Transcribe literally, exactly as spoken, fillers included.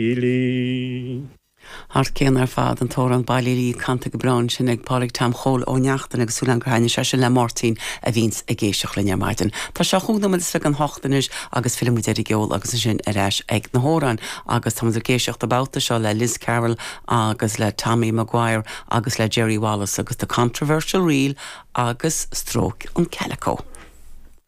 Lee. Thar cionn ar fad an t-amhrán Ballylee canta go breá sin ag Pádraig Tom Chóil Ó Neachtain agus súil gur thaithin sé sin le Máirtín a bhíonns ag éisteacht linn ar maidin. Tá sé chúig nóiméad is fiche don hocht anois agus fillfimid ar an gceol agus ansin ar ais ag na hamhráin agus tá ag éisteacht an babhta seo le Liz Carroll agus le Tommy Maguire agus le Jerry Wallace agus the Controversial Reel agus Stróic an Calico.